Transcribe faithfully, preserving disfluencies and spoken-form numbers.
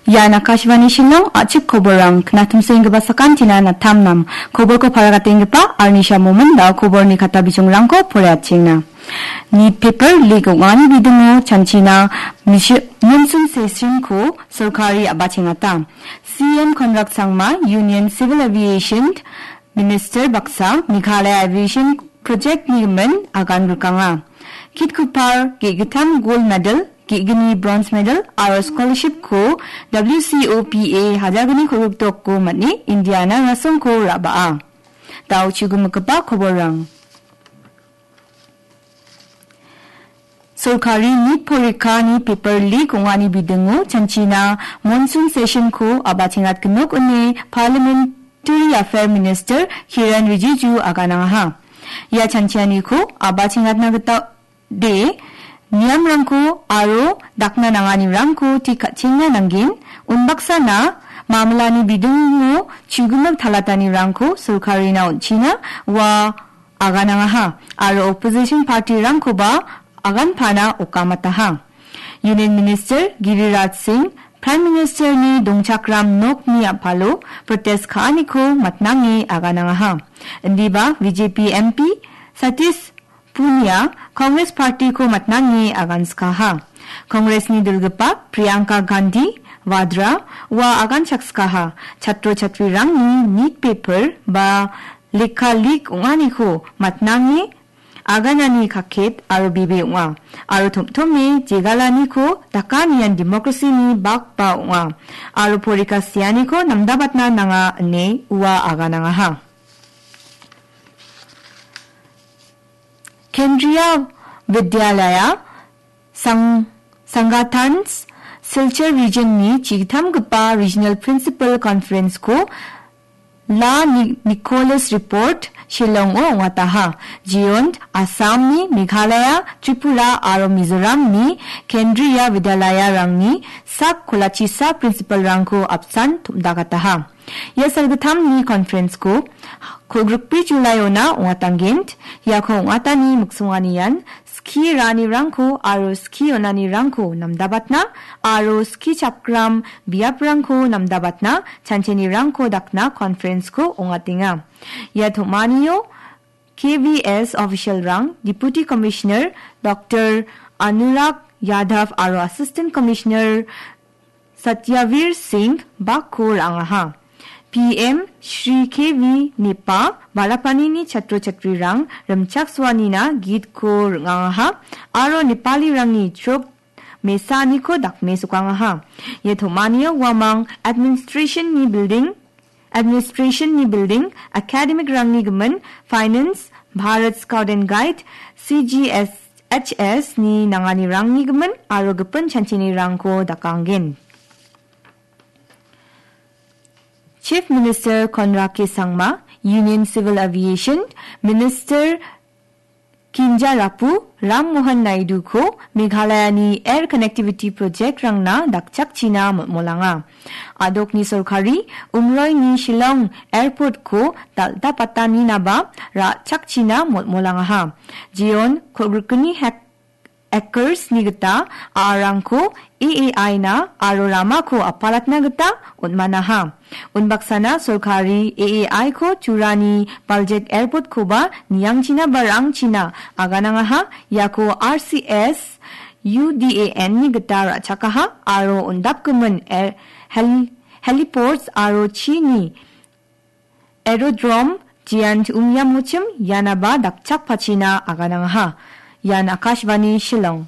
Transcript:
Ian Akashvani Shillong, a·chik koborrang, knatumsenggipa sakantina natamnam. Koborko paragatenggipa Arnisha Momin da koborni kata bijongrangko poraiatchengna. Nit paper leak ong·ani bidingo chanchina mishi-, monsoon session-ko sorkari a·bachengata. C M Conrad Sangma, Union Civil Aviation Minister baksa, Meghalaya Aviation Project-ni gimin agan rikanga. Kit Kupar ge·gittam gold medal, ge·gni bronze medal aro scholarship-ko W C O P A hajalgni kolgrikdokko man·e Indiana rasongko ra·baa. Da·o chigimikgipa koborrang. Sorkari nit porikani paper leak ong·ani bidingo chanchina monsoon session-ko a·bachengatgnok ine Parliamentary Affair Minister Kiren Rijiju aganangaha. Ia chanchianiko a·bachengatna gita de niamrangko aro dakna nanganirangko tik ka·chengna nanggen. Unbaksana mamlani bidingo chugimik talatanirangko sorkarina on·china ua aganangaha aro opposition party-rangkoba aganpana okamataha. Union Minister Giriraj Singh Prime Minister-ni dongchakram nokni a·palo protest ka·aniko matnange aganangaha. Indiba B J P M P Satish Punia Congress party-ko matnange aganskaha. Congress-ni dilgipa Priyanka Gandhi Vadra ua aganchakskaha. Chatro chatrirangni nit paper ba lekha leak ong·aniko matnange aganani kaket aro bebe ong·a. Aro tom·tome jegalaniko dakanian democracy-ni bakba ong·a. Aro porika sianiko namdabatna nanga ine ua aganangaha. Kendriya Vidyalaya Sang-, Sangatans Silchar Region-ni chigittamgipa Regional Principal Conference-ko La Ni-, Nicholas Report Shillong-o ong·ataha. Jiyont Assam-ni, Meghalaya, Tripura aro Mizoram-ni Kendriya Vidyalaya-rangni sak kolachisa principal-rangko apsan tom·dagataha. Ia salgittamni conference-ko kolgrikbri July-ona ong·atanggen. Iako ong·atani miksonganian skie ra·anirangko aro skie on·anirangko namdabatna aro skichakram biaprangko namdabatna chanchinirangko dakna conference-ko ong·atenga. Ia tom·anio K V S official-rang, Deputy Commissioner Doctor Anurag Yadav aro Assistant Commissioner Satyavir Singh bakko ra·angaha. P M Shri K V Nepa balapanini chatro chatrirang rimchaksoanina gitko ring·angaha aro Nepalirangni chrok mesaniko dakmesokangaha. Ia tom·anio uamang administration-ni building, administration-ni building, academic-rangni gimin, finance, Bharat Scout and Guide, C G S H S-ni nanganirangni gimin aro gipin chanchinirangko dakanggen. Chief Minister Conrad K Sangma, Union Civil Aviation Minister Kinjarapu Ram Mohan Naidu-ko Meghalaya-ni air connectivity project-rangna dakchakchina mol·molanga. A·dokni sorkari Umroini Shillong Airport-ko dal·dapataninaba ra·chakchina mol·molangaha. Jeon kolgrikgni hek-, acres-ni gita a·arangko A A I-na aro ramako apalatna gita on·manaha. Unbaksana sorkari A A I-ko Turani Baljek Airport-koba niangchina ba rangchina aganangaha, iako R C S U D A N-ni gita ra·chakaha aro undapgimin air-, hel-, heliports aro chini aerodrome, jean Umyamochim ianaba dakchakpachina aganangaha. Ian Akashvani Shillong.